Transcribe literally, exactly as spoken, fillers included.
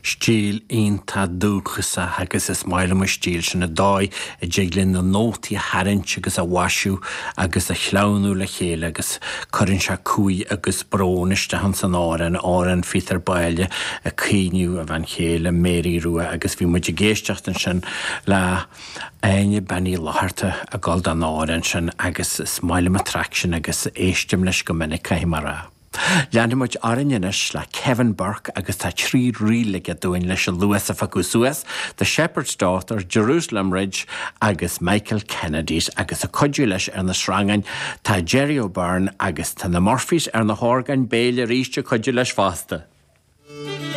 Stíl iontach dúchasach agus is maith liom an stíl sin an dóigh a dtig linn na nótaí a tharraingt agus a mhaisiú agus a shleamhnú le chéile agus cuireann sé cumhaidh agus brón isteach ins an amhrán amhrán Phíotair Báille ag caoineadh a bhean chéile Mary Rua agus bhí muid ag éisteacht ansin le Áine Bean Uí Fhlatharta ag gabháil don amhrán sin agus is maith liom an traic sin agus éistim leis go minic caithfidh mé a rá. Leanfaimid orainn anois le Kevin Burke agus tá trí ríl aige dúinn leis an luas a phiocadh suas, The Shepherd's Daughter, Jerusalem Ridge agus Michael Kennedy's agus ag cuidiú leis ar na sreangáin tá Jerry O'Byrne agus tá na Murphys ar na horgáin béil arís ag cuidiú leis fosta.